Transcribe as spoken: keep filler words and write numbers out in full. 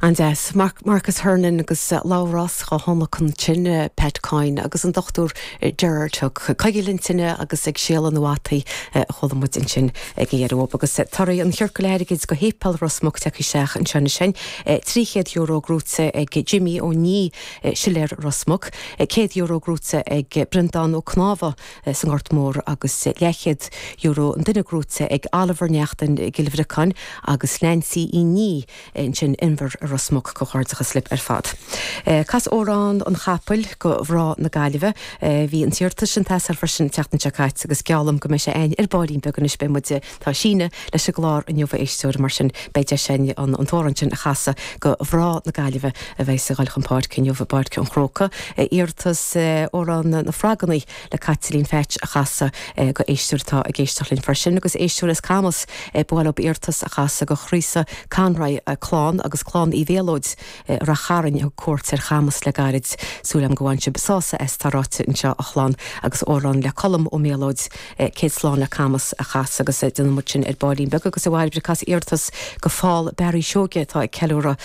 An-deas Marcus Hernon agus Labhrás dhá thionlacan sin Pat Coyne agus an Dr Gerard Hook coigil an tine agus ag séaladh na bhfataí chuala muid ansin ag deireadh agus torthaí an chiorcail airgid go Shéipéal Ros Muc tagtha isteach anseo sin trí chéad euro gnóite ag Jimmy Ó Ní Siléir Ros Muc, céad euro gnóite ag Breandán Ó Cnámha san Gort Mór agus leathchéad euro an duine gnóite ag Oliver Neachtain Cill Bhriocáin agus Nancy Uí Ní ansin Inbhir Ros Muc comhghairdeachas libh ar fad. Cas amhrán an chapaill go mná na Gaillimhe, bhí an t-iarratas sin tásar freisin teachtain seo caite agus geallaim go mbeidh sé againn ar baillín beag anois beidh muid tá síneadh leis an gclár inniu a éisteoir mar sin beidh deis againn an an t-amhrán sin a chasadh go mná na Gaillimhe a bheidh ag dul chun páirce inniu i bPáirc an Chrócaigh. Iarratas amhrán na Froganna le Caitlín Pheaits a chasadh go éisteoir atá ag éisteacht linn freisin agus éisteoir as Camas bhuel iarratas a chasadh go Chríosa Conroy clann agus clann Uí Bhéalóid Ráth Chairn thug cuairt ar Chamas le gairid súil agam go bhfaigheann sibh sásamh as tá ráite anseo a chlann agus amhrán le Colm Ó Méalóid céad slán le Camas a chasadh agus déanfaidh muid sin ar baillín beag agus a bhail cas iarratas go Paul Barry Seoige atá ag ceiliúradh